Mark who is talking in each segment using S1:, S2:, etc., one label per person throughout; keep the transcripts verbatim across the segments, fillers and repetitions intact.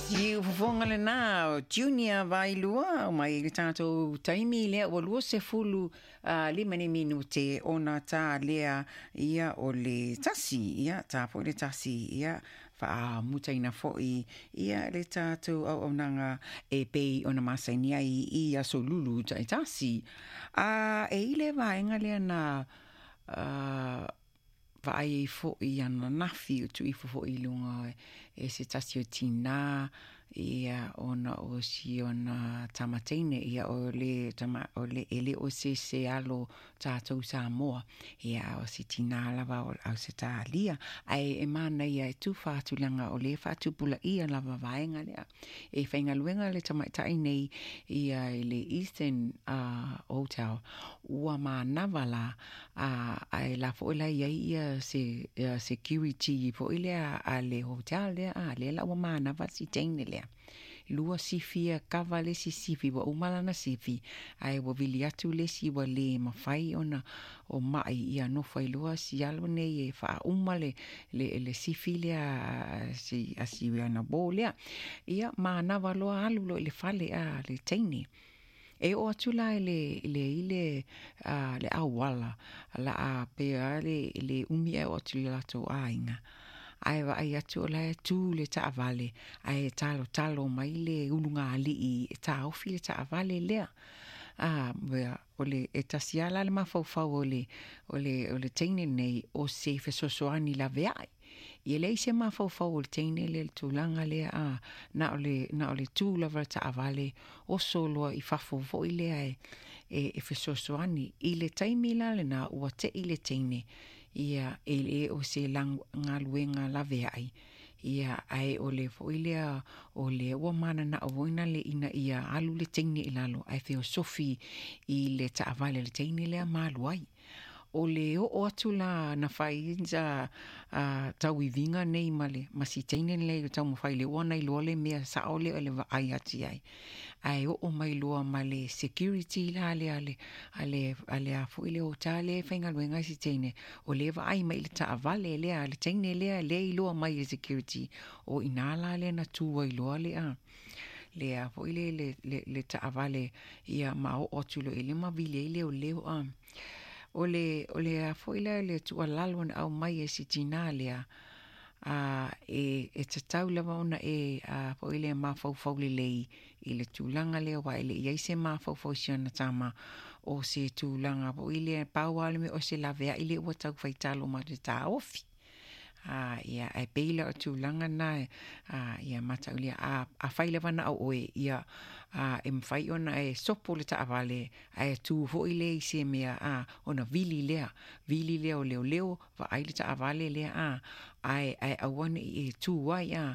S1: Siufofoga lena o Junior Vailua mai le tatou taimi lea ua lua sefulu uh, lima ni minute ona tā lea ia o le tasi ia tā foi le tasi ia faamutaina foi ia le tatou auaunaga e pei ona masani ai i aso lulu taitasi. A e i le vaega lea na uh, vaai ai foi ananafi o tuuifo foi i luga e se tasi o tinā ia ona o si ona tamateine ia o le tama o le e le o se se alo tatou Samoa ia o se tinā lava o Ausetalia ae e manaia e tufa tulaga o le faatupulaia lava vaega lea e faigaluega le tamaitai nei ia i le Eastern uh, Hotel ua manava la uh, ae la foi la iai ia se uh, security foi lea a le hotel lea a lea la ua manava si teine lea lua sifi e kava le isi sifi ua uma lana sifi ae ua vili atu le isi ua le mafai ona o mai ia nofo ai loa si alo nei e faauma le le le sifi lea a si a si ana uō lea ia manava loa alu loa i le fale a le teine e oo atu la i le le i le a le auala la a pea le le umi e oo atu i le latou aiga ae vaai atu o la e tū le taavale ae talotalo mai le ulugalii e taofi le taavale lea a o le e tasi lava la le mafaufau o le o le o le teine nei o se fesoasoani laveai ia leai se mafaufau o le teine lea i le tulaga lea a na o le na o le tū lava le taavale oso loa i fafo foi lea e e, e fesoasoani i le taimi la lena ua tei le teine ia e le o se galuega laveai ia ae o le foi lea o le ua mananao foi le ina ia alu le teine i lalo ae feosofi i le taavale le teine lea ma alu ai o le oo atu la na fai sa uh, tauiviga nei ma le ma si teine lea i taumafai le ua na iloa le mea sao lea o le vaai atu i ai ae oo mai loa ma le security la le ale ale ale a foi le hotel le faigaluega si teine o le vaai mai le taavale lea le teine lea le iloa mai le security o ina la lea na tu ai loa le a le foi le le le, le taavale ia ma oo atu loa i le ma vili ai leoleo a o le o le a foi lea le tuualalo na aumai e si tinā lea a e e tatau lava ona e a foi le mafaufau lelei i le tulaga lea aua e le i ai se mafaufau i si ona tama o se tulaga foi lea pau lava le mea o se laveai lea ua tau faitalo ma le taofi a ia ae pei la o tulaga na a ia mataulia a afai lava na au oe ia a e mafai ona e sopo le taavale ae tu foi lea i se mea a ona vili lea vili lea o leoleo vaai le taavale lea a ae ae aua nei e tu ai a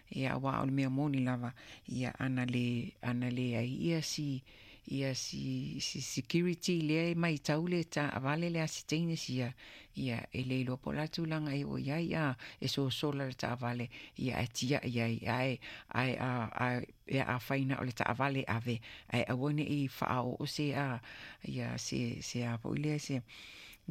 S1: ia aua o le mea moni lava ia ana le ana le ai ia si ia si, si security lea e maitau le taavale lea si teine sia ia e le iloa po o le a tulaga e oo i ai a e sosola le taavale ia ae tiai ai ae ae a a e afai na o le taavale ave ae aua nei faaoo se a ia se se a foi lea se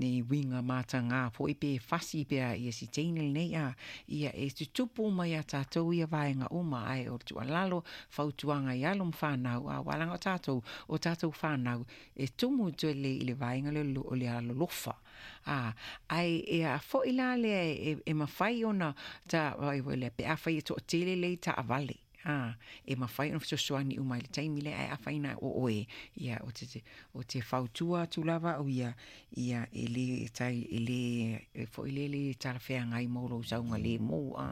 S1: nei uiga matagā foi pe fasi pea ia si teine lenei a ia e tutupu mai ia tatou ia vaega uma ae o le tuualalo fautuaga i alo ma fanau a aua leaga o tatou o tatou fanau e tumu tele i le vaega lea o le alolofa a ae e a foi la lea e, e mafai ona ta ai lea pe afai e toatele le taavale a e mafai ona fesoasoani uma i le taimi lea ae afai na o oe ia o te o te fautua atu lava au ia ia e le tai e le e foi le le talafeagai mo lou saogalemu a.